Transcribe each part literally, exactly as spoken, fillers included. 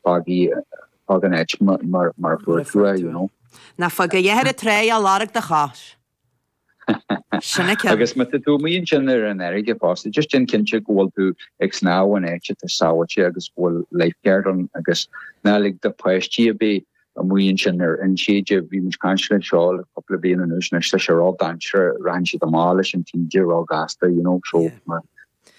Fág fág an áit mar mar fuair tú é, you know. Ná fág a dhath ar an trá ach lorg do chos. Sin an ceann. Agus má tá tú amuigh ansin ar an fharraige fosta, just déan cinnte go bhfuil tú ag snámh in áit atá sábháilte agus go bhfuil lifeguard ann agus ná lig do pháistí ar bith amuigh ansin ar inséide. Bhí muid ag caint le seo le cúpla bliain anuas anois, tá sé ró-dainséarach, rachaidh siad amach leis an taoide ró-ghasta, you know, so yeah.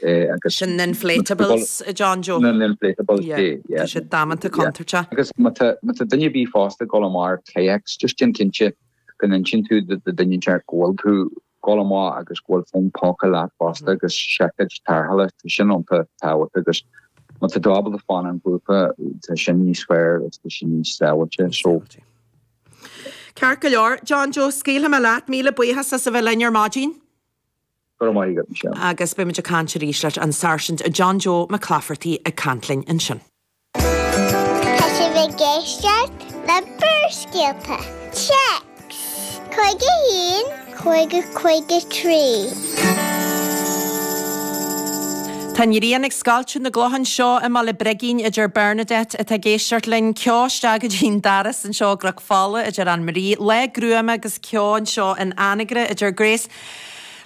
Eh, agus Sin na inflatables, a John Joe. Na inflatables, yeah. yeah. Tá sé damanta contúirteach. Agus má tá duine ar bith fosta ag dul amach ar kayaks, just déan cinnte go n-insíonn tú do dhuine inteacht go bhfuil tú ag dul amach agus go bhfuil fón póca leat fosta agus seaicéid tarrthála, tá sin iontach tábhachtach agus má tá tú ábalta fanacht i ngrúpa tá sin níos fearr agus tá sin níos sábháilte. So Ceart go leor, John Joe, scaoilfidh mé leat, míle buíochas as a bheith linn ar maidin. Go raibh maith agat, Michelle. Agus beidh muid ag caint arís leis an Sáirsint John Joe McClafferty ag caint linn ansin. Tá sibh ag éisteacht le Barrscéalta. Téacs cúig a haon, cúig a cúig a trí. Tá an ghrian ag scoilteadh na gcloch anseo i mBaile Brigín a deir Bernadette atá ag éisteacht linn. Ceo isteach go dtí'n doras anseo i gCnoc Fola a deir Anne Marie. Lá gruama agus ceo anseo in Anagaire a deir Grace.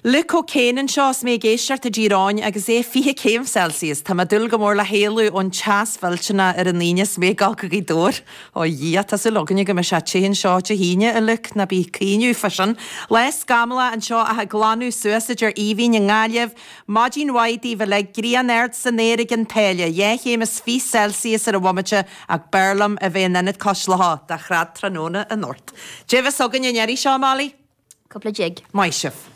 Luke O'Kane anseo is mé ag éisteacht i dTír Eoghain agus é fiche céim Celsius. Tá mé ag dúil go mór le héalú ón teas mhillteanach ar an Aoine is mé ag dul go Gaoth Dobhair. Ó a Dhia, tá súil againne go mbeidh sé te anseo Dé hAoine, a Luke, ná bí ag caoineadh fá sin. Lá scamallach anseo ach ag glanadh suas a deir Aoibhinn i nGaillimh. Maidin mhaith daoibh uilig, grian ard san aer ag an tSáile, dhá chéim is fiche Celsius ar an bhomaite ach b'fhearr liom a bheith in Ionad Cois Locha do chrad tráthnóna anocht. Dé bheas againn an iarraidh seo, Molly? Cúpla jig. Maith sibh.